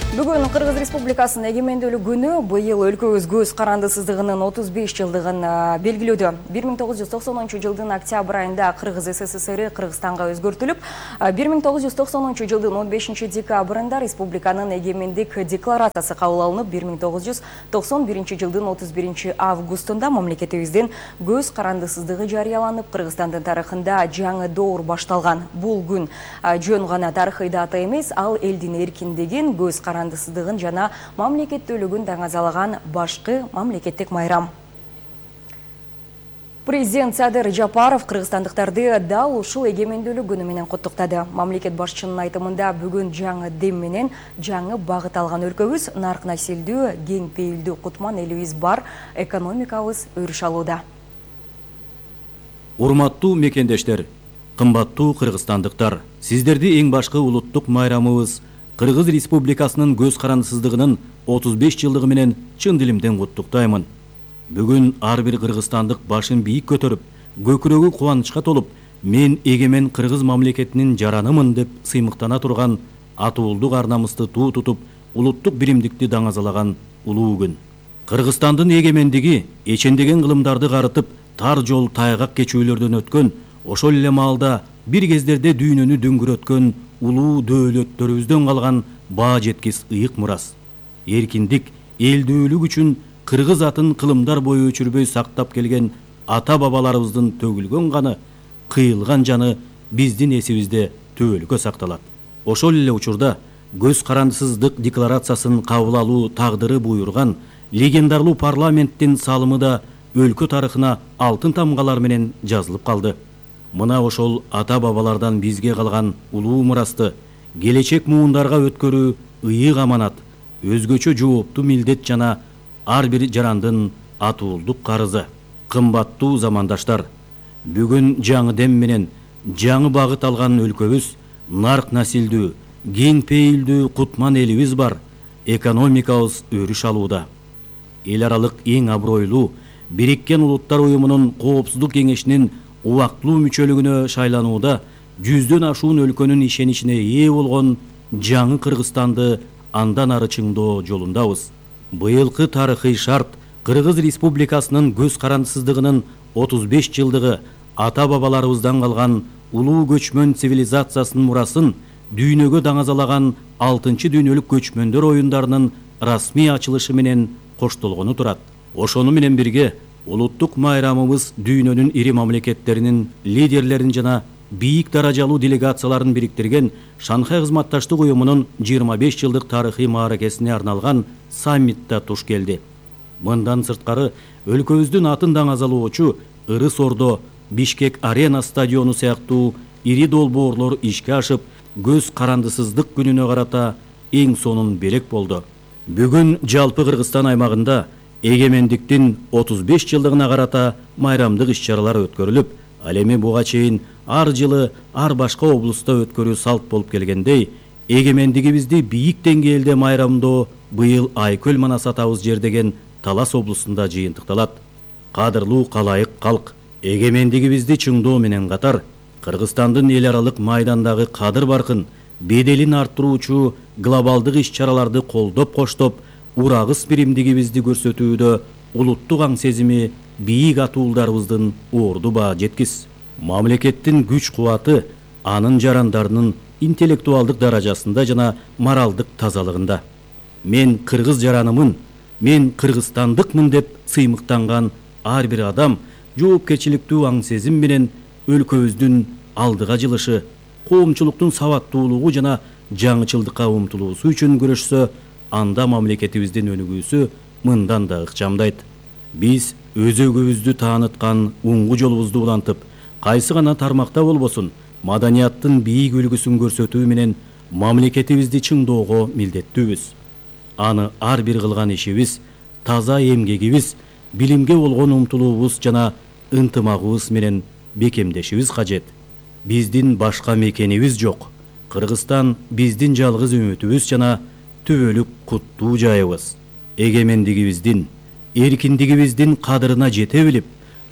Бүгүн Кыргыз Республикасынын эгемендүүлүк күнү быйыл өлкөбүз көз карандысыздыгынын 35 жылдыгын белгилөөдө. 1990 жылдын октябрь айында Кыргыз СССР Кыргызстанга өзгөртүлүп, 1990 жылдын 15 декабрында республиканын эгемендик декларациясы кабыл алынып, 1991 жылдын 31 августунда мамлекетибиздин көз карандысыздыгы жарыяланып, Кыргызстандын тарыхында жаңы доор башталган. Бул күн жөн гана тарыхый дата эмес, ал элдин эркиндигин, көз карандысыздыгын жана мамлекеттүүлүгүн даңазалаган башкы мамлекеттик майрам. Президент Садыр Жапаров кыргызстандыктарды дал ушул эгемендүүлүк күнү менен куттуктады. Мамлекет башчынын айтымында бүгүн жаңы дем менен жаңы багыт алган өлкөбүз, нарк насилдүү, кең пейилдүү кутман элибиз бар, экономикабыз өрүш алууда. Урматтуу мекендештер, кымбаттуу кыргызстандыктар, сиздерди эң башкы улуттук майрамыбыз Кыргыз Республикасынын көз карандысыздыгынын 35 жылдыгы менен чын дилимден куттуктаймын. Бүгүн ар бир кыргызстандык башын бийик көтөрүп, көкүрөгү кубанычка толуп, мен эгемен кыргыз мамлекетинин жаранымын деп сыймыктана турган, атуулдук ар намысты туу тутуп, улуттук биримдикти даңазалаган улуу күн. Кыргызстандын эгемендиги эчендеген кылымдарды карытып, тар жол тайгак кечүүлөрдөн өткөн, ошол эле маалда бир кездерде дүйнөнү дөңгөрөткөн улуу дөөлөттөрүбүздөн калган баа жеткис ыйык мурас. Эркиндик, элдүүлүк үчүн кыргыз атын кылымдар бою өчүрбөй сактап келген ата бабаларыбыздын төгүлгөн каны, кыйылган жаны биздин эсибизде түбөлүккө сакталат. Ошол эле учурда көз карандысыздык декларациясын кабыл алуу тагдыры буйруган легендарлуу парламенттин салымы да өлкө тарыхына алтын тамгалар менен жазылып калды. Мына ошол ата бабалардан бизге калган улуу мурасты келечек муундарга өткөрүү ыйык аманат, өзгөчө жооптуу милдет жана ар бир жарандын атуулдук карызы. Кымбаттуу замандаштар, бүгүн жаңы дем менен жаңы багыт алган өлкөбүз, нарк насилдүү, кең пейилдүү кутман элибиз бар, экономикабыз өрүш алууда. Эл аралык эң абройлуу Бириккен Улуттар уюмунун Коопсуздук кеңешинин убактылуу мүчөлүгүнө шайланууда 100дөн ашуун өлкөнүн ишеничине ээ болгон жаңы Кыргызстанды андан ары чыңдоо жолундабыз. Быйылкы тарыхый шарт Кыргыз Республикасынын көз карандысыздыгынын 35 жылдыгы ата бабаларыбыздан калган улуу көчмөн цивилизациясынын мурасын дүйнөгө даңазалаган 6-чы дүйнөлүк көчмөндөр оюндарынын расмий ачылышы менен коштолгону турат. Ошону менен бирге улуттук майрамыбыз дүйнөнүн ири мамлекеттеринин лидерлерин жана бийик даражалуу делегацияларын бириктирген Шанхай кызматташтык уюмунун 25 жылдык тарыхый мааракесине арналган саммитта туш келди. Мындан сырткары өлкөбүздүн атын даңазалоочу Ырыс Ордо, Бишкек Арена стадиону сыяктуу ири долбоорлор ишке ашып, көз карандысыздык күнүнө карата эң сонун белек болду. Бүгүн жалпы Кыргызстан аймагында эгемендиктин 35 жылдыгына карата майрамдык иш-чаралар өткөрүлүп, ал эми буга чейин ар жылы ар башка облуста өткөрүү салт болуп келгендей, эгемендигибизди бийик деңгээлде майрамдоо быйыл Айкөл Манас атабыз жердеген Талас облусунда жыйынтыкталат. Кадырлуу калайык калк, эгемендигибизди чыңдоо менен катар, Кыргызстандын эл аралык майдандагы кадыр баркын, беделин арттыруучу глобалдык иш-чараларды колдоп коштоп, урагыс биримдигибизди көрсөтүүдө улуттук аң сезими бийик атуулдарыбыздын орду баа жеткис. Мамлекеттин күч кубаты анын жарандарынын интеллектуалдык даражасында жана моралдык тазалыгында. Мен кыргыз жаранымын, мен кыргызстандыкмын деп сыймыктанган ар бир адам жоопкерчиликтүү аң сезим менен өлкөбүздүн алдыга жылышы, коомчулуктун сабаттуулугу жана жаңычылдыкка умтулуусу үчүн күрөшсө, анда мамлекетибиздин өнүгүүсү мындан да ыкчамдайт. Биз өзөгүбүздү тааныткан уңгу жолубузду улантып, кайсы гана тармакта болбосун, маданияттын бийик үлгүсүн көрсөтүү менен мамлекетибизди чыңдоого милдеттүүбүз. Аны ар бир кылган ишибиз, таза эмгегибиз, билимге болгон умтулуубуз жана ынтымагыбыз менен бекемдешибиз кажет. Биздин башка мекенибиз жок. Кыргызстан биздин жалгыз үмүтүбүз жана түбөлүк куттуу жайыбыз. Эгемендигибиздин, эркиндигибиздин кадырына жете билип,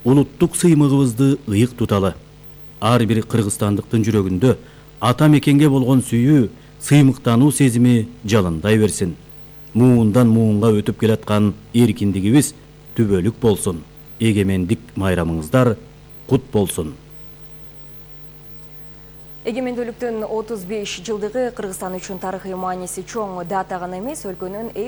улуттук сыймыгыбызды ыйык туталы. Ар бир кыргызстандыктын жүрөгүндө ата мекенге болгон сүйүү, сыймыктануу сезими жалындай берсин. Муундан муунга өтүп келаткан эркиндигибиз түбөлүк болсун. Эгемендик майрамыңыздар кут болсун. Эгемендүүлүктүн 35 жылдыгы Кыргызстан үчүн тарыхый мааниси чоң дата гана эмес, өлкөнүн эл